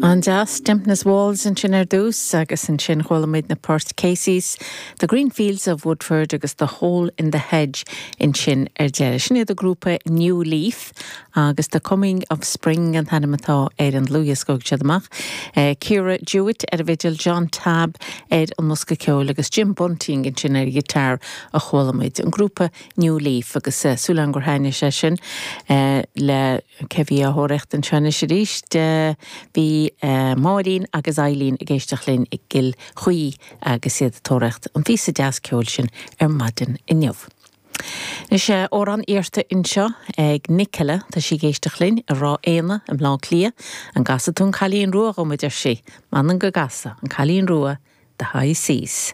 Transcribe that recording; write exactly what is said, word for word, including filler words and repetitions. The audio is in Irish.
An-deas Dampness Walls ansin ar dtús agus ansin chuala muid na poirt Casey's, The Green Fields of Woodford agus The Hole in the Hedge ansin ar deireadh. Sin iad a grúpa New Leaf agus The Coming of Spring an t-ainm atá ar an dlúthdhiosca siad amach. Uh, Ciara Jewett ar an bhfidil John Tabb ar an mbosca ceoil agus Jim Bunting ansin ar guitar a chuala muid an grúpa New Leaf agus uh, súil gur thaitnigh sé sin uh, le cé bhí á thóraíocht anseo arís uh, bhí uh, Máirín agus Eileen ag éisteacht linn i gCill Chaoi agus iad ag tóraíocht an phíosa deas ceoil sin ar maidin inniu. Is sé amhrán iarrtha anseo ag Nicola tá sí ag éisteacht linn i Ráth Éanna i mBleá Cliath an gcasfaidh tú an Cailín Rua dom a deir sí, M'anam go gcasfaidh an Cailín Rua the High Seas.